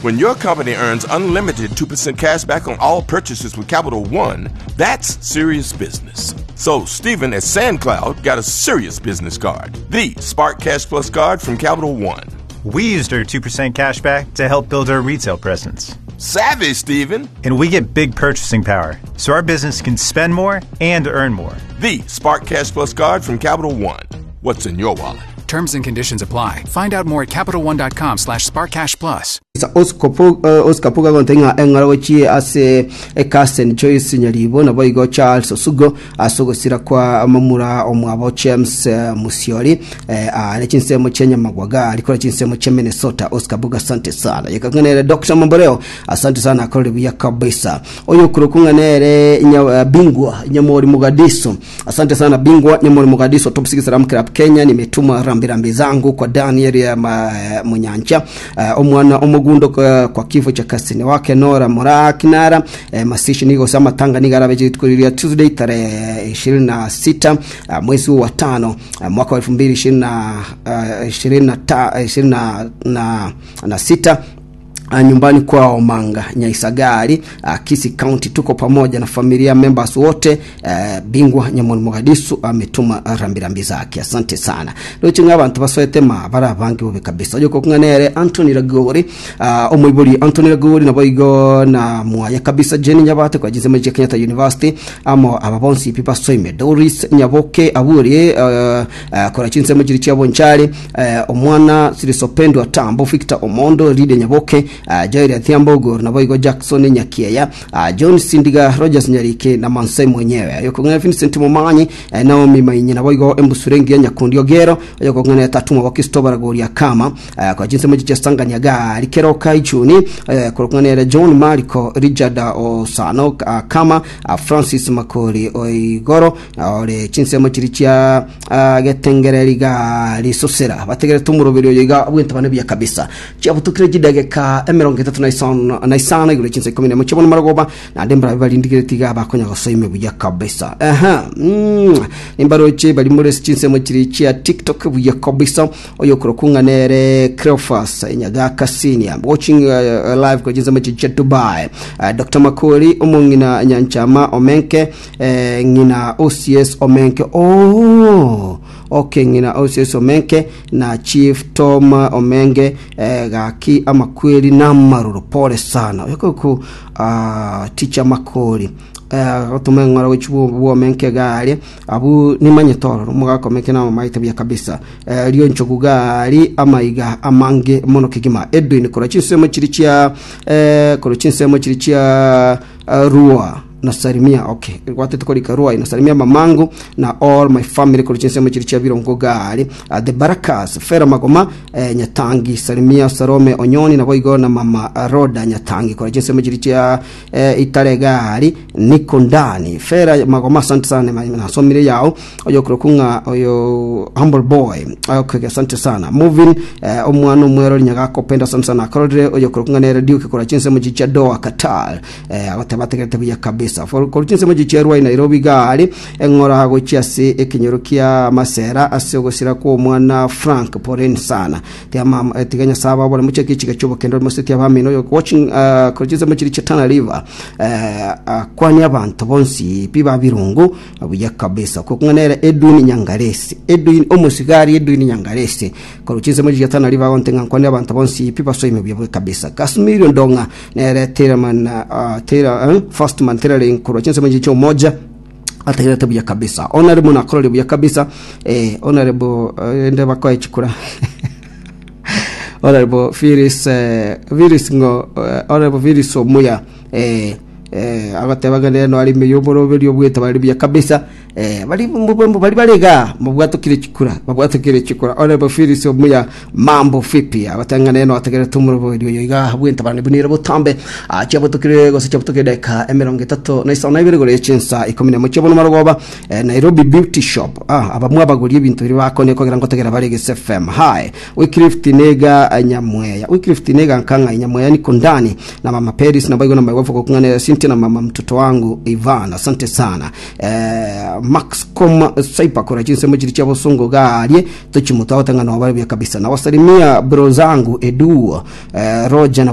When your company earns unlimited 2% cash back on all purchases with Capital One, that's serious business. So, Stephen at SandCloud got a serious business card the Spark Cash Plus card from Capital One. We used our 2% cash back to help build our retail presence. Savvy, Stephen! And we get big purchasing power, so our business can spend more and earn more. The Spark Cash Plus card from Capital One. What's in your wallet? Terms and conditions apply. Find out more at CapitalOne.com slash SparkCashPlus. Oscar Puga agontebia ng'a eng'ora gochie ase Carsten Joyce Nyaribo naboigo Charles Osugo ase ogosira kwa momura omwabo James Musiori are chinsemo chia Nyamagwaga arikore chinsemo chia Minnesota. Oscar Buga asante sana. Yekakung'a nere Dr. Mamboleo asante sana akorire buya kabisa. Oyo okorokwa ng'a nere Bingwa Nyamori Mugadiso Asante sana bingwa Nyamori Mogadiso Top 6 Ram Club Kenya nimetuma rambirambi zangu kwa Daniel ya ma, Munyancha omwana omogundo kwa, kwa kifo cha kasini wake Nora Moraa Kinara masishi nigo ase amatanga nigo arabe rituko riria Tuesday tarehe 26 mwezi wa tano mwaka wa 2026 nyumbani kwao Manga Nyaisagari Kisii County. Tuko pamoja na familia members wote. Bingwa Nyamori Mogadisu ametuma rambirambi zake, asante sana. Roche ng'a abanto basoete ma bare abange bobe kabisa. Oyo kokung'a nere Anthony Ragori omoibori Anthony Ragori naboigo na mwaye kabisa Jenny Nyabate kwa chinsemo chia Kenyatta University amo aba bonsi pi basoime Doris Nyaboke aburi kora chinsemo chiri chia Bonchari Omwana Sirisopendwa Tambo, Victor Omondo, Lydia Nyaboke, Joel Athiambo Ogoro, naboigo Jackson Nyakieya, John Sindiga, Rogers Nyarike na Mansai mwenyewe. Oyokong'ana Vincent Momanyi, Naomi Mainyi naboigo Embusure Engiya Nyakundi Ogero, oyokong'ana Tatumwa Bakisto Baragoria Kama, kwa chinsemo chicha Sangania Gari Keroka Ichuni, korokong'ana ere John Mariko, Richard Osano Kama, Francis Makori Oigoro, ore chinsemo chiria chia Getengereri iga risosera bategerete omoroberi oyo iga bw'entabana buya kabisa. Chiabutukire chidageka 35 na isano igoro chinsa ikomi nemo chiabona marogoba naende mbarabe barindigereti iga bakonya gosoime buya kabisa. Aha, nimbaroche bari more chinsemo chiri chia TikTok buya kabisa oyo okorokwa ng'a nere Cleophas Nyagaka Senior watching live kwa chinsemo chiri chia Dubai. Dr. Makori omong'ina Nyanchama Omenke Eh, ng'ina OCS Omenke oh okay ng'ina OCS Omenke na Chief Tom Omenge eh, gaki amakweri namaroro pole sana oyokoku uh, teacher Makori eh, gotuma eng'ora gochi bwomenke gari abu nimanyete ororo omogaka omenke namamaete buya kabisa eh, rionchogu gari amaiga amange mono kegima Edwin korwa chinsemo chiri chia eh, korwa chinsemo chiri chia uh, rua Nasalimia okay gwatete korika Ruai nasalimia mamangu na all my family korwa chinsemo chiri chia Birongo gari the Barakas Fera Magoma eh, Nyatangi salimia Salome Onyoni naboigo na mama Roda Nyatangi korwa chinsemo chiri chia eh, Itare gari niko ndani Fera Magoma asante sana nasomire yao oyo korokwa ng'a oyo humble boy okay asante sana moving eh, omwana omwero nyagakopenda asante sana akorire oyo korokwa ng'a nere Duke korwa chinsemo chiri chia Doha Qatar Eh, agote bategerete buya kabisa. For korwa chinsemo chicherwa i Nairobi gari eng'ora gochia ase ekenyoro kia Masera ase ogosira kw'omwana Frank poleni sana. Tiga mama eh, tiga Nyasaye ababore mochake echiga chi'obokendo moseti abamino oyo watching uh, korwa chinsemo chiri chia Tana River eh, akwani abanto bonsi pi ba birungu buya kabisa. Okwo nere Edwin Nyangaresi Edwin omosigari Edwin Nyangaresi korwa chinsemo chiria Tana River agonte ng'a nkwane abanto bonsi pi basoime buya buya kabisa. Kasmiri Ndong'a Nere Taylorman, uh, Taylor, eh, Firstman Tailoring korwa chinsemo echi chia Umoja ategerete buya kabisa honorable nakorore buya kabisa eh, honorable eh, ende bakoe chikura honorable Phyllis eh, Phyllis ngo eh, honorable Phyllis Omuya eh, eh, agateba ng'a nere noare ime y'oboroberi obwete bari buya kabisa Eh, bari bari bare iga mabwatokire chikura babwatokire chikura Honorable Phyllis Omuya mambo vipi abatang'ana eno ategerete omorobori oyo iga bwentabane bunire botambe Ah, chiabotokire gose chiabotokire dakika 32 igoro ye chinsa 11 chiabono marogoba eh, Nairobi Beauty Shop ah, abamwe abagoria ebinto biria bakone kogera ngotegera bare Gese FM hi Wycliffe Tinega Nyamweya Wycliffe Tinega nkang'a Nyamweya niko ndani na mama Peris na baigo na my wife gokung'ana Cynthia na mama mtoto wangu Ivan asante sana Eh, Max com Saipa kora chinsemo chiri chia bosongo garie tochimutao tang'ana wabare buya kabisa nawasalimia bro zangu Edu eh, Roger na.